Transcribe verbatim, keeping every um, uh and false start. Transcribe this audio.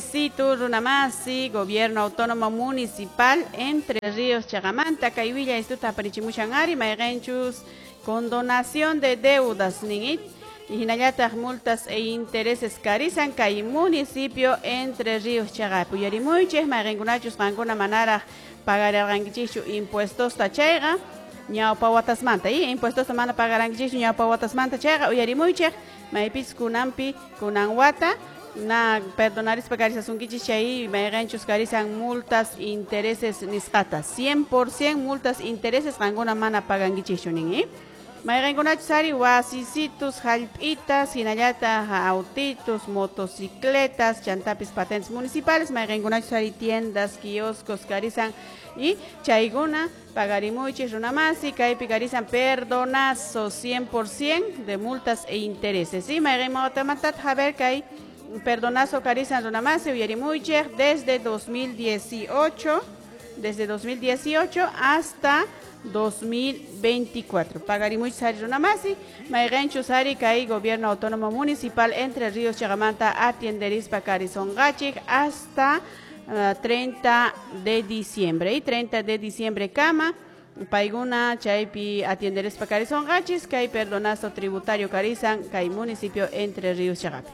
Situ runamasi, Gobierno Autónomo Municipal Entre Ríos chaqamanta, kay willaystuta aparichimushan ari, mayqinchus condonación de deudas nin hinallataq multas e intereses karisan kay municipio Entre Ríos chaqapi. Uyarimuychik, mayqinkunachus qankuna manaraq pagarirqankichikchu impuestosta chayqa ñawpa watasmanta y impuestosta mana pagarankichikchu ñawpa watasmanta chayqa, uyarimuychik, maypis kunanpi kunan wata na perdonarispa karisasunkichik chay mayqinchus karisan multas intereses nisqata, cien por ciento multas intereses qankuna mana pagankichikchu nin, eh? Mayqinkunachus ari wasisitus, hallp'itas, hinallataq autitos, motocicletas, chantapis patentes municipales, mayqinkunachus ari tiendas, kioscos karisan y chaykuna pagarimuychik, runamasi, kaypi karisan perdonazo cien por ciento de multas e intereses, ¿sí? Mayqin a ver kay perdonazo karisan, runamasi, uyarimuychik, desde dos mil dieciocho, desde dos mil dieciocho hasta dos mil veinticuatro. Pagarimuychik ari, runamasi, mayqinchus ari kay Gobierno Autónomo Municipal Entre Ríos chaqamanta atienderispa karisonqachik hasta uh, treinta de diciembre. Y treinta de diciembre kama paykuna chaypi atienderispa karisonqachis kay perdonazo tributario karisan kay municipio Entre Ríos chaqapi.